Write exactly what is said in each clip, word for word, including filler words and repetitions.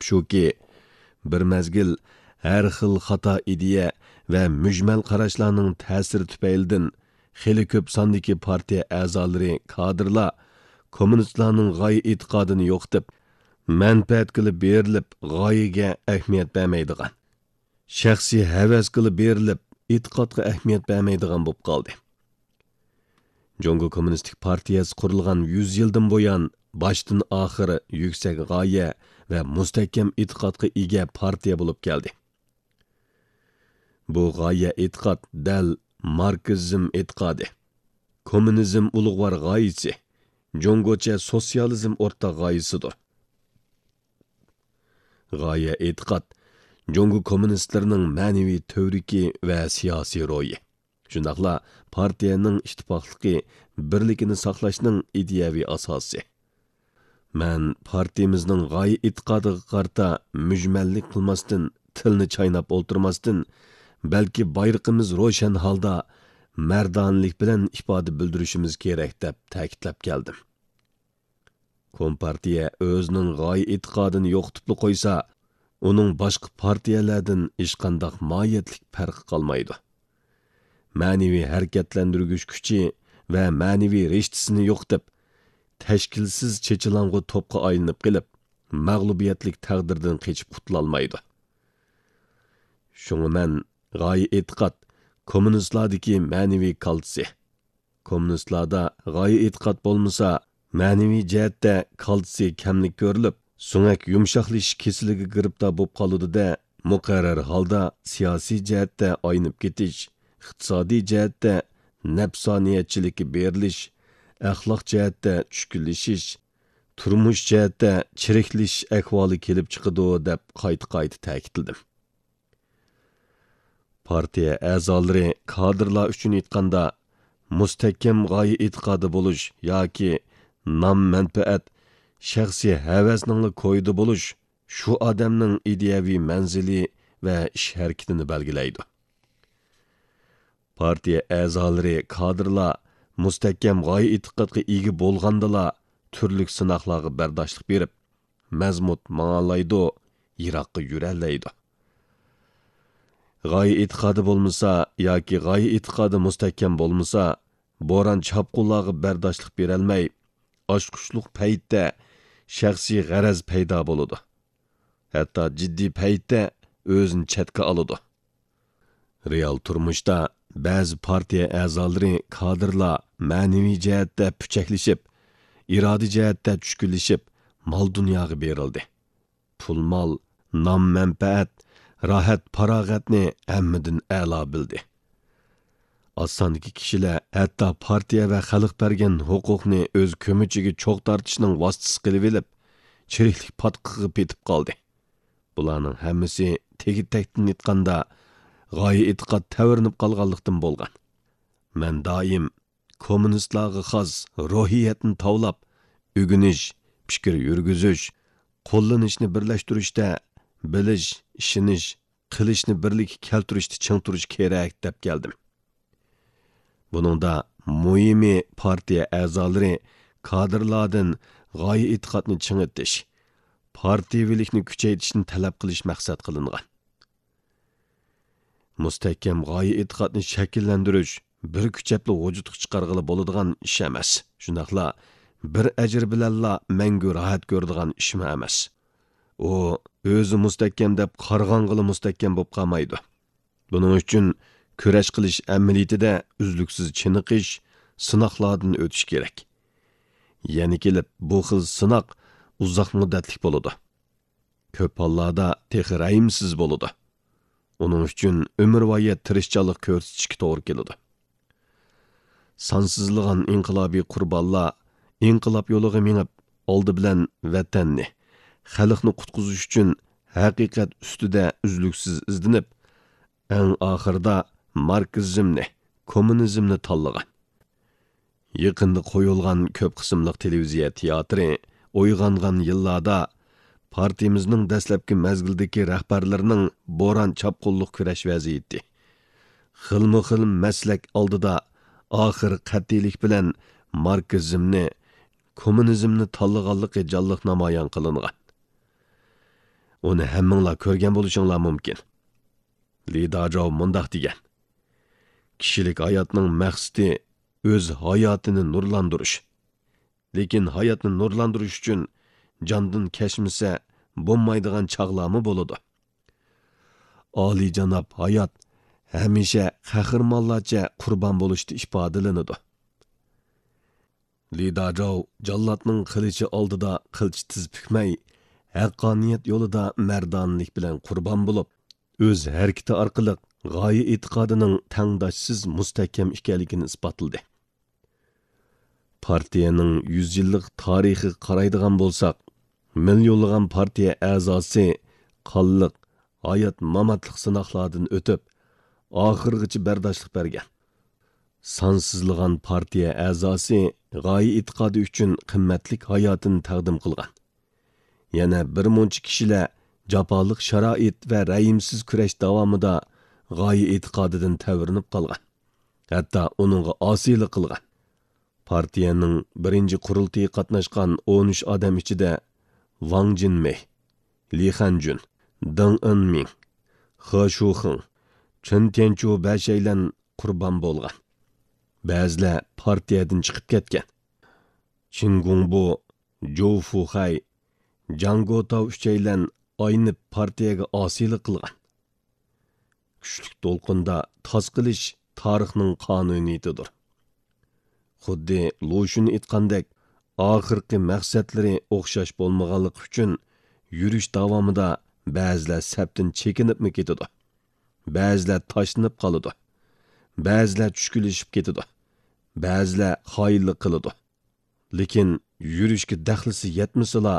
شۇكى، بىر مەزگىل ھەر خىل خاتا ئىدىيە ۋە مۈجمەل قاراشلارنىڭ تەسىرى تۈپەيلىدىن خېلى كۆپ ساندىكى پارتىيە ئەزالىرى، كادىرلار كوممۇنىستلارنىڭ غايە ئېتىقادىنى يوقىتىپ، مەنپەئەتكىلا بېرىلىپ، غايىگە ئەھمىيەت بەرمەيدىغان، شەخسىي ھەۋەسكىلا بېرىلىپ، ئېتىقادقا ئەھمىيەت بەرمەيدىغان بولۇپ قالدى. جۇڭگو كوممۇنىستىك پارتىيەسى قۇرۇلغان يۈز يىلدىن بۇيان، باشتىن ئاخىر يۈكسەك غايە ۋە مۇستەھكەم ئېتىقادقا ئىگە پارتىيە بولۇپ كەلدى. بۇ غايە ئېتىقاد دەل ماركسىزم ئېتىقادى، كوممۇنىزم ئۇلۇغۋار غايىسى، جۇڭگوچە سوتسىيالىزم ئورتاق غايىسىدۇر. غايە ئېتىقاد جۇڭگو كوممۇنىستلىرىنىڭ مەنىۋى تۈۋرۈكى ۋە سىياسىي روھى، شۇنداقلا پارتىيەنىڭ ئىتتىپاقلىقى، بىرلىكىنى ساقلاشنىڭ ئىدىيەۋى ئاساسى. مەن پارتىيىمىزنىڭ غايە ئېتىقادىغا قارىتا مۈجمەللىك قىلماستىن، تىلنى چايناپ ئولتۇرماستىن، بەلكى بايرىقىمىز روشەن ھالدا مەردانىلىك بىلەن ئىپادە بىلدۈرۈشىمىز كېرەك، دەپ تەكىتلەپ كەلدىم. كومپارتىيە ئۆزىنىڭ غايە ئېتىقادىنى يوقىتىپلا قويسا، ئۇنىڭ باشقا پارتىيەلەردىن ھېچقانداق ماھىيەتلىك پەرقى قالمايدۇ. مەنىۋى ھەرىكەتلەندۈرگۈچ كۈچى ۋە مەنىۋى رىشتىسىنى يوقىتىپ، تەشكىلسىز چېچىلاڭغۇ توپقا ئايلىنىپ قېلىپ، مەغلۇبىيەتلىك تەقدىردىن قېچىپ قۇتۇلالمايدۇ. شۇڭا مەن غايە ئېتىقاد كوممۇنىستلاردىكى مەنىۋى كالتسى. كوممۇنىستلاردا غايە ئېتىقاد بولمىسا، مەنىۋى جەھەتتە كالتسى كەملىك كۆرۈلۈپ، سۆڭەك يۇمشاقلىشىش كېسىلىگە گىرىپتار بولۇپ قالىدۇ-دە، مۇقەررەر ھالدا سىياسىي جەھەتتە ئاينىپ كېتىش، ئىقتىسادىي جەھەتتە نەپسانىيەتچىلىككە بېرىلىش، ئەخلاق جەھەتتە چۈشكۈنلىشىش، تۇرمۇش جەھەتتە چىرىكلىشىش ئەھۋالى كېلىپ چىقىدۇ، دەپ قايتا-قايتا تەكىتلىدىم. پارتىيە ئەزالىرى، كادىرلار ئۈچۈن ئېيتقاندا، مۇستەھكەم غايە ئېتىقادى بولۇش ياكى نام-مەنپەئەت، شەخسىي ھەۋەسنىڭلا كويىدا بولۇش شۇ ئادەمنىڭ ئىدىيەۋى مەنزىلى ۋە ئىش ھەرىكىتىنى بەلگىلەيدۇ. پارتىيە ئەزالىرى، كادىرلار مۇستەھكەم غايە ئېتىقادقا ئىگە بولغاندىلا، تۈرلۈك سىناقلارغا بەرداشلىق بېرىپ، مەزمۇت ماڭالايدۇ، يىراققا يۈرەلەيدۇ. غايە ئېتىقادى بولمىسا ياكى غايە ئېتىقادى مۇستەھكەم بولمىسا، بوران-چاپقۇنلارغا بەرداشلىق بېرەلمەي، ئاچقۇچلۇق پەيتتە شەخسىي غەرەز پەيدا بولىدۇ. ھەتتا جىددىي پەيتتە ئۆزىنى چەتكە ئالىدۇ. رېئال تۇرمۇشتا بەزى پارتىيە ئەزالىرى، كادىرلار مەنىۋى جەھەتتە پۈچەكلىشىپ، ئىرادە جەھەتتە چۈشكۈنلىشىپ، مال-دۇنياغا بېرىلدى. پۇل-مال، نام-مەنپەئەت، راھەت-پاراغەتنى ھەممىدىن ئەلا بىلدى. ئاز ساندىكى كىشىلەر ھەتتا پارتىيە ۋە خەلق بەرگەن ھوقۇقنى ئۆز كۆمىچىگە چوغ تارتىشنىڭ ۋاسىتىسى قىلىۋېلىپ، چىرىكلىك پاتقىقىغا پېتىپ قالدى. بۇلارنىڭ ھەممىسى تېگى-تەكتىن ئېيتقاندا، غايە-ئېتىقاد تەۋرىنىپ قالغانلىقتىن بولغان. مەن دائىم كوممۇنىستلارغا خاس روھىيەتنى تاۋلاپ، ئۆگىنىش، پىكىر يۈرگۈزۈش، قوللىنىشنى بىرلەشتۈرۈشتە، بىلىش، ئىشىنىش، قىلىشنى بىرلىككە كەلتۈرۈشتە چىڭ تۇرۇش كېرەك، دەپ كەلدىم. بۇنىڭدا مۇھىمى پارتىيە ئەزالىرى، كادىرلاردىن غايە-ئېتىقادنى چىڭىتىش، پارتىيىۋىلىكنى كۈچەيتىشنى تەلەپ قىلىش مەقسەت قىلىنغان. مۇستەھكەم غايە-ئېتىقادنى شەكىللەندۈرۈش بىر كۈچەپلا ۋۇجۇدقا چىقارغىلى بولىدىغان ئىش ئەمەس. شۇنداقلا بىر ئەجىر بىلەنلا مەڭگۈ راھەت كۆرىدىغان ئىشمۇ ئەمەس. ئۇ ئۆزى مۇستەھكەم دەپ قارىغانغىلا مۇستەھكەم بولۇپ قالمايدۇ. بۇنىڭ ئۈچۈن كۈرەش قىلىش ئەمەلىيىتىدە ئۈزلۈكسىز چېنىقىش، سىناقلاردىن ئۆتۈش كېرەك. يەنە كېلىپ بۇ خىل سىناق ئۇزاق مۇددەتلىك بولىدۇ. كۆپ ھاللاردا تېخى رەھىمسىز بولىدۇ. ئۇنىڭ ئۈچۈن ئۆمۈرۋايەت تىرىشچانلىق كۆرسىتىشكە توغرا كېلىدۇ. سانسىزلىغان ئىنقىلابىي قۇربانلار ئىنقىلاب يولىغا مېڭىپ، ئالدى بىلەن ۋەتەننى، خەلقنى قۇتقۇزۇش ئۈچۈن ھەقىقەت ئۈستىدە ئۈزلۈكسىز ئىزدىنىپ، ئەڭ ئاخىرىدا ماركسىزمنى، كوممۇنىزمنى تاللىغان. يېقىندا قويۇلغان كۆپ قىسىملىق تېلېۋىزىيە تىياتىرى ئويغانغان يىللاردا پارتىيىمىزنىڭ دەسلەپكى مەزگىلدىكى رەھبەرلىرىنىڭ بوران-چاپقۇنلۇق كۈرەش ۋەزىيىتى، خىلمۇ خىل مەسلەك ئالدىدا ئاخىر قەتئىيلىك بىلەن ماركسىزمنى، كوممۇنىزمنى تاللىغانلىقى جانلىق نامايان قىلىنغان. ئۇنى ھەممىڭلار كۆرگەن بولۇشۇڭلار مۇمكىن. لى داجاۋ مۇنداق دېگەن: «كىشىلىك ھاياتنىڭ مەقسىتى ئۆز ھاياتىنى نۇرلاندۇرۇش. لېكىن ھاياتنى نۇرلاندۇرۇش ئۈچۈن جاندىن كەچمىسە بولمايدىغان چاغلارمۇ بولىدۇ.» ئالىيجاناب ھايات ھەمىشە قەھرىمانلارچە قۇربان بولۇشتا ئىپادىلىنىدۇ. لى داجاۋ جاللاتنىڭ قىلىچى ئالدىدا قىلچە تىز پۈكمەي، ھەققانىيەت يولىدا مەردانىلىك بىلەن قۇربان بولۇپ، ئۆز ھەرىكىتى ئارقىلىق غايە ئېتىقادىنىڭ تەڭداشسىز مۇستەھكەم ئىكەنلىكىنى ئىسپاتلىدى. پارتىيەنىڭ يۈز يىللىق تارىخىغا قارايدىغان بولساق، مىليونلىغان پارتىيە ئەزاسى قانلىق، ھايات-ماماتلىق سىناقلاردىن ئۆتۈپ، ئاخىرغىچە بەرداشلىق بەرگەن. سانسىزلىغان پارتىيە ئەزاسى غايە ئېتىقادى ئۈچۈن قىممەتلىك ھاياتىنى تەقدىم قىلغان. يەنە بىر مۇنچە كىشىلەر جاپالىق شارائىت ۋە رەھىمسىز كۈرەش داۋامىدا غايە ئېتىقادىدىن تەۋرىنىپ قالغان، ھەتتا ئۇنىڭغا ئاسىيلىق قىلغان. پارتىيەنىڭ بىرىنچى قۇرۇلتىيىغا قاتناشقان ئون ئۈچ ئادەم ئىچىدە ۋاڭ جىنمېي، لى خەنجۈن، دېڭ ئېنمىڭ، خې شۇخېڭ، چېن تيەنچۇ بەشەيلەن قۇربان بولغان. بەزىلەر پارتىيەدىن چىقىپ كەتكەن. چىن گۇڭبۇ، جوۋ فۇخەي، جاڭ گوتاۋ ئۈچەيلەن ئاينىپ پارتىيەگە ئاسىيلىق قىلغان. كۈچلۈك دولقۇندا تاس قىلىش تارىخنىڭ قانۇنىيىتىدۇر. خۇددى لۇشۈن ئېيتقاندەك، ئاخىرقى مەقسەتلىرى ئوخشاش بولمىغانلىقى ئۈچۈن يۈرۈش داۋامىدا بەزىلەر سەپتىن چېكىنىپمۇ كېتىدۇ، بەزىلەر تاشلىنىپ قالىدۇ، بەزىلەر چۈشكۈنلىشىپ كېتىدۇ، بەزىلەر خائىنلىق قىلىدۇ. لېكىن يۈرۈشكە دەخلىسى يەتمىسىلا،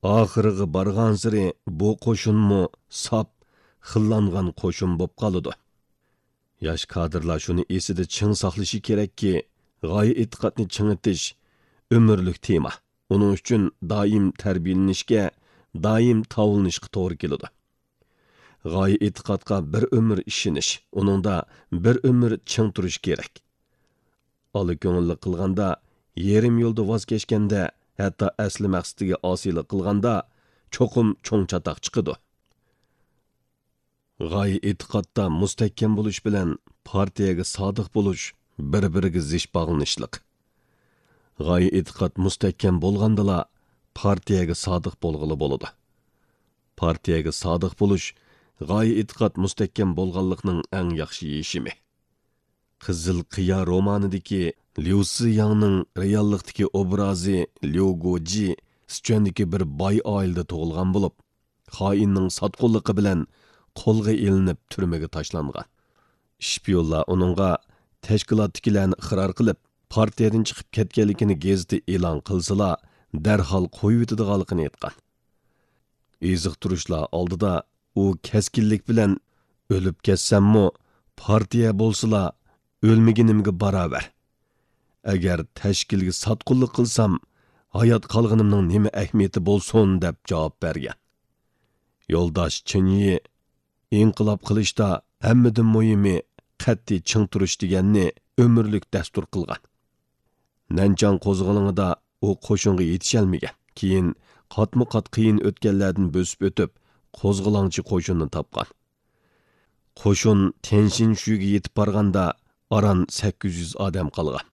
ئاخىرىغا بارغانسېرى بۇ قوشۇنمۇ ساپ، خىللانغان قوشۇن بولۇپ قالىدۇ. ياش كادىرلار شۇنى ئېسىدە چىڭ ساقلىشى كېرەككى، غايە ئېتىقادنى چىڭىتىش ئۆمۈرلۈك تېما. ئۇنىڭ ئۈچۈن دائىم تەربىيەلىنىشكە، دائىم تاۋلىنىشقا توغرا كېلىدۇ. غايە ئېتىقادقا بىر ئۆمۈر ئىشىنىش، ئۇنىڭدا بىر ئۆمۈر چىڭ تۇرۇش كېرەك. ئالا كۆڭۈللۈك قىلغاندا، يېرىم يولدا ۋاز كەچكەندە، ھەتتا ئەسلى مەقسىتىگە ئاسىيلىق قىلغاندا، چوقۇم چوڭ چاتاق چىقىدۇ. غايە ئېتىقادتا مۇستەھكەم بولۇش بىلەن پارتىيەگە سادىق بولۇش بىر-بىرىگە زىچ باغلىنىشلىق. غايە ئېتىقاد مۇستەھكەم بولغاندىلا، پارتىيەگە سادىق بولغىلى بولىدۇ. پارتىيەگە سادىق بولۇش غايە ئېتىقاد مۇستەھكەم بولغانلىقنىڭ ئەڭ ياخشى يېشىمى. قىزىل قىيا رومانىدىكى ليۇ سىياڭنىڭ رېئاللىقتىكى ئوبرازى ليۇ گوجى سىچۈەندىكى بىر باي ئائىلىدە تۇغۇلغان بولۇپ، خائىننىڭ ساتقۇنلۇقى بىلەن قولغا ئېلىنىپ تۈرمىگە تاشلانغان. ئىشپىيونلار ئۇنىڭغا تەشكىلاتتىكىلەرنى ئىقرار قىلىپ، پارتىيەدىن چىقىپ كەتكەنلىكىنى گېزىتتە ئېلان قىلسىلا، دەرھال قويۇۋېتىدىغانلىقىنى ئېيتقان. ئېزىقتۇرۇشلار ئالدىدا ئۇ كەسكىنلىك بىلەن، «ئۆلۈپ كەتسەممۇ، پارتىيە بولسىلا، ئۆلمىگىنىمگە باراۋەر. ئەگەر تەشكىلگە ساتقۇنلۇق قىلسام، ھايات قالغىنىمنىڭ نېمە ئەھمىيىتى بولسۇن؟» دەپ جاۋاب بەرگەن. يولداش چېن يى ئىنقىلاب قىلىشتا ھەممىدىن مۇھىمى قەتئىي چىڭ تۇرۇش دېگەننى ئۆمۈرلۈك دەستۇر قىلغان. نەنچاڭ قوزغىلىڭىدا ئۇ قوشۇنغا يېتىشەلمىگەن. كېيىن قاتمۇ قات قىيىن ئۆتكەللەردىن بۆسۈپ ئۆتۈپ، قوزغىلاڭچى قوشۇننى تاپقان. قوشۇن تيەنشىنشۈگە يېتىپ بارغاندا، ئاران سەككىز يۈز ئادەم قالغان.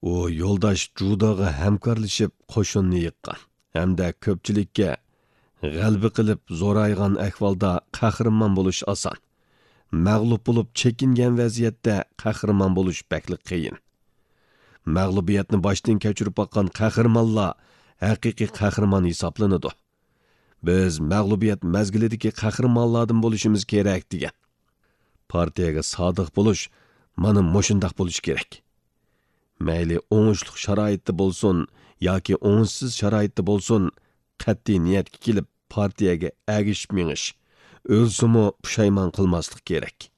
ئۇ يولداش جۇداغا ھەمكارلىشىپ قوشۇننى يىغقان ھەمدە كۆپچىلىككە، «غەلىبە قىلىپ زورايغان ئەھۋالدا قەھرىمان بولۇش ئاسان. مەغلۇپ بولۇپ چېكىنگەن ۋەزىيەتتە قەھرىمان بولۇش بەكلا قىيىن. مەغلۇبىيەتنى باشتىن كەچۈرۈپ باققان قەھرىمانلار ھەقىقىي قەھرىمان ھېسابلىنىدۇ. بىز مەغلۇبىيەت مەزگىلىدىكى قەھرىمانلاردىن بولۇشىمىز كېرەك» دېگەن. پارتىيەگە سادىق بولۇش مانا مۇشۇنداق بولۇشى كېرەك. مەيلى ئوڭۇشلۇق شارائىتتا بولسۇن ياكى ئوڭۇشسىز شارائىتتا بولسۇن، قەتئىي نىيەتكە كېلىپ، پارتىيەگە ئەگىشىپ مېڭىش، ئۆلسىمۇ پۇشايمان قىلماسلىق كېرەك.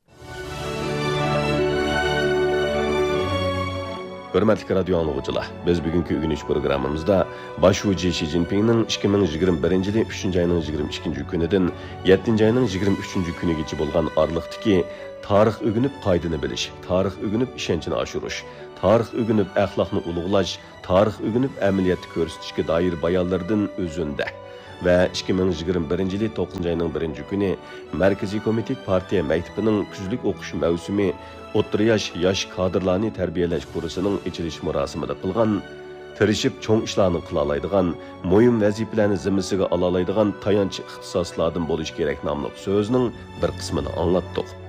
ھۆرمەتلىك رادىيو ئاڭلىغۇچىلار، بىز بۈگۈنكى ئۆگىنىش پروگراممىمىزدا باش شۇجى شى جىنپىڭنىڭ ئىككى مىڭ يىگىرمە بىرىنچى يىلى ئۈچىنچى ئاينىڭ يىگىرمە ئىككىنچى كۈنىدىن يەتتىنچى ئاينىڭ يىگىرمە ئۈچىنچى كۈنىگىچە بولغان ئارىلىقتىكى تارىخ ئۆگىنىپ قائىدىنى بىلىش، تارىخ ئۆگىنىپ ئىشەنچنى ئاشۇرۇش، تارىخ ئۆگىنىپ ئەخلاقنى ئۇلۇغلاش، تارىخ ئۆگىنىپ ئەمەلىيەتتە كۆرسىتىشكە دائىر بايانلىرىدىن ئۆزۈندە، ۋە ئىككى مىڭ يىگىرمە بىرىنچى يىلى توققۇزىنچى ئاينىڭ بىرىنچى كۈنى مەركىزىي كومىتېت پارتىيە مەكتىپىنىڭ كۈزلۈك ئوقۇش مەۋسۇمى ئوتتۇرا ياش، ياش كادىرلارنى تەربىيەلەش كۇرسىنىڭ ئېچىلىش مۇراسىمىدا قىلغان، تىرىشىپ چوڭ ئىشلارنى قىلالايدىغان، مۇھىم ۋەزىپىلەرنى زىممىسىگە ئالالايدىغان تايانچ ئىختىساسلاردىن بولۇش كېرەك ناملىق سۆزىنىڭ بىر قىسمىنى ئاڭلاتتۇق.